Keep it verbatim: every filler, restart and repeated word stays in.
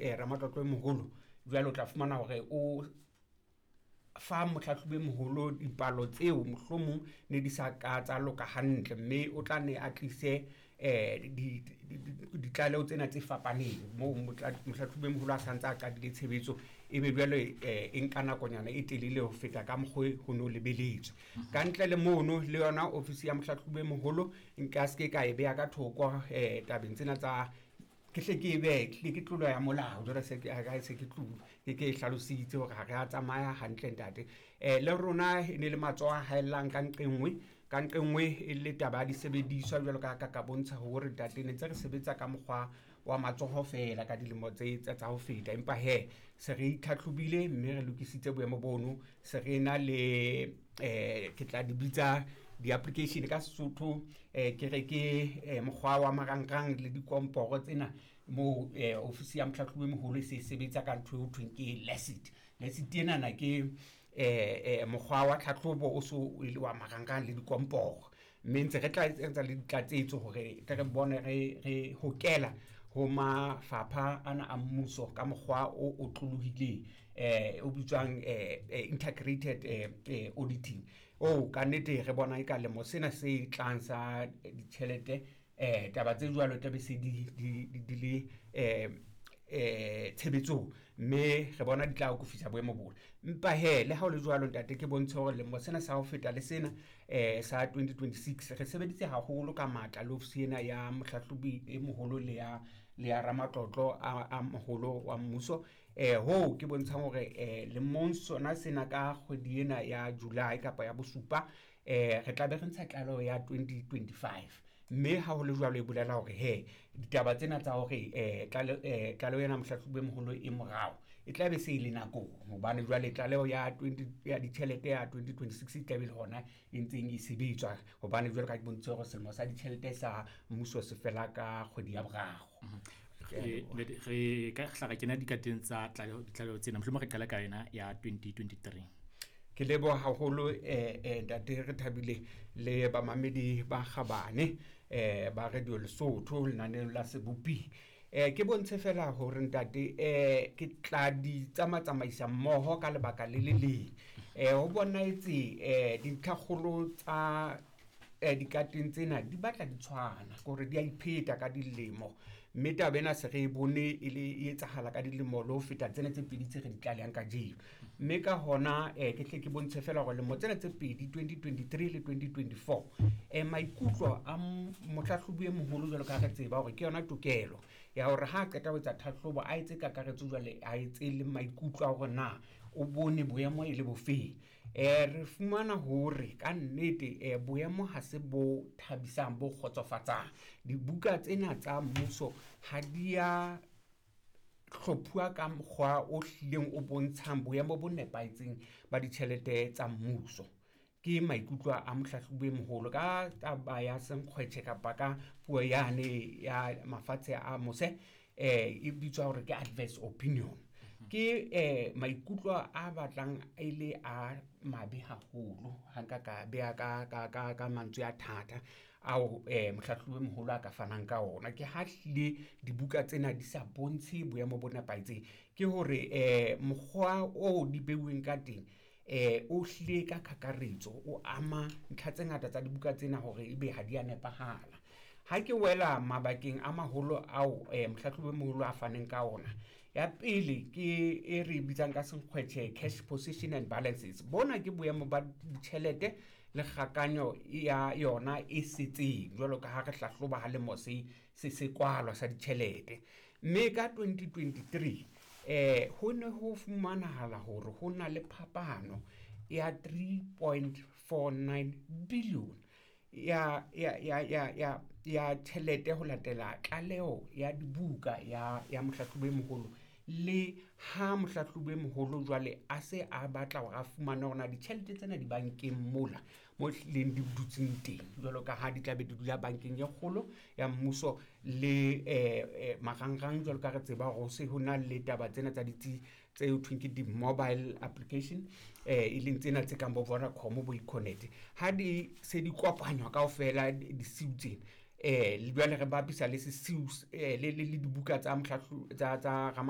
eh, ramatlotlo e moholo jwale o tla fumana hore o fa mohlahlobi e moholo dipalo tseo mohlomong ne di sa ka tsa loka hantle, mme o tla ne a tlise eh di ditlaleho tsena tse fapaneng moo mohlahlobi e moholo a santse a qadile tshebetso, ebe jwale e nka nakonyana e telele ho feta ka mokgwa ho no lebeletswe. Ka ntle le mono le yona ofisi ya mohlahlobi e moholo nka se ke ka e beha ka thoko eh tabeng tsena tsa ke hle ke e behe hle ke tlolo ya molao jwale se ke se ke tlo ke ke hlalositse hore ha re a tsamaya hantle ntate. Eh le rona e ne le matsoho a haellang ka nqe nngwe, ka nqe nngwe e le taba ya disebediswa jwalo ka ka ka bontsha hore ntate ne ntse re sebetsa ka mokgwa wa matsoho feela ka dilemo tse tsa ho feta, empa he se re itlhatlhobile mme re lokisitse boemo bono, se re na le eh ke tla di bitsa di-application ka Sesotho, eh ke re ke mokgwa wa marangrang le dikomporo tsena moo eh ofisi ya mohlahlobi e moholo e se sebetsa ka ntho e ho thweng ke LASIT. LASIT enana ke eh eh mokgwa wa tlhatlhobo o so e le wa marangrang le dikomporo, mme ntse re tla etsa le ditlatsetso hore tle re bone re re hokela ho mafapha ana a mmuso ka mokgwa o otlolohileng eh o bitswang eh integrated eh auditing o ka nnete re bona e ka lemo sena se tlang sa ditjhelete eh taba tse jwalo tla be se di di le eh eh tshebetsong, mme re bona di tla akofisa boemo bona. Empa he le ha o le jwalo ntate ke bontshe hore lemo sena sa ho feta le sena eh sa twenty twenty-six re sebeditse haholo ka matla le ofisi ena ya mohlahlobi e moholo le ya le ya ramatlotlo a a moholo wa mmuso eh ho ke bontshang hore eh lemong sona sena ka kgwedi ena ya July kapa ya bosupa eh re tla be re ntsha tlaleho ya twenty twenty-five, mme ha ho le jwalo e bolela hore he ditaba tsena tsa hore eh tlaleho ena mohlahlobi e moholo e morao e tla be se e le nakong, hobane jwale tlaleho ya twenty ya ditjhelete ya twenty twenty-six e tla be le hona e ntseng e sebetswa, hobane jwale ka ke bontshitse hore selemo sa ditjhelete sa mmuso se fela ka kgwedi ya boraro. Re ka hla ra kena dikateng tsa tlaleho ditlaleho tsena, mohlomong re qala ka yona ya twenty twenty-three. Ke leboha haholo eh eh ntate re thabile le bamamedi ba kgabane eh ba Radio Lesotho lenaneo la Sebopi. Eh ke bontshe fela hore ntate eh ke tla di tsamatsamaisa mmoho ka lebaka le le leng. Eh ho bonahetse eh dintlhakgolo tsa eh dikateng tsena di batla di tshwana hore di a ipheta ka dilemo, mme taba ena se re e bone e le e etsahala ka dilemo le ho feta tsena tse pedi tse re di tlalehang kajeno. Mme ka hona eh ke tle ke bontshe fela hore lemo tsena tse pedi twenty twenty-three le twenty twenty-four eh maikutlo a mohlahlobi e moholo jwalo ka re tseba hore ke yona tokelo ya hore ha qeta ho etsa tlhahlobo a etse kakaretso jwale a etse le maikutlo a hore na o bone boemo e le bofeng. Eh re fumana hore ka nnete eh boemo ha se bo thabisang bo kgotsofatsang. Dibuka tsena tsa mmuso ha di a hlophuwa ka mokgwa o hlileng o bontshang boemo bo nepahetseng ba ditjhelete tsa mmuso. Ke maikutlo a mohlahlobi e moholo ka taba ya senkgwetjhe kapa ka puo yane ya mafatshe a mose eh e bitswa hore ke adverse opinion. Ke eh maikutlo a batlang e le a mabe haholo ha nka ka beha ka ka ka ka mantswe a thata ao eh mohlahlobi e moholo a ka fanang ka ona. Ke ha hlile dibuka tsena di sa bontshe boemo bo nepahetseng, ke hore eh mokgwa o di beuweng ka teng eh o hlile ka kakaretso o ama ntlha tse ngata tsa dibuka tsena hore ebe ha di a nepahala. Ha ke wela mabakeng a maholo ao eh mohlahlobi e moholo a faneng ka ona, ya pele ke e re bitsang ka senkgwetjhe cash position and balances. Bona ke boemo ba ditjhelete le kgakanyo ya yona e setseng jwalo ka ha re hlahloba ha lemo se se se kwalwa sa ditjhelete. Mme ka twenty twenty-three eh ho ne ho fumanahala hore ho na le phapano ya three point four nine billion ya ya ya ya ya ya tjhelete ho latela tlaleho ya dibuka ya ya mohlahlobi e moholo. Le ha mohlahlobi e moholo jwale a se a batla hore a fumane hore na ditjhelete tsena di bankeng mola mo hlileng di dutseng teng jwalo ka ha di tla be di dula bankeng e kgolo ya mmuso le eh marangrang jwalo ka re tseba hore ho se ho na le taba tsena tsa ditsi tse ho thweng ke di-mobile application eh e leng tsena tse kang bo Vodacom bo Econet. Ha di se di kopanywa kaofela disiu tsena eh le jwale re bapisa le sesiu eh le le dibuka tsa mohlahlobi tsa tsa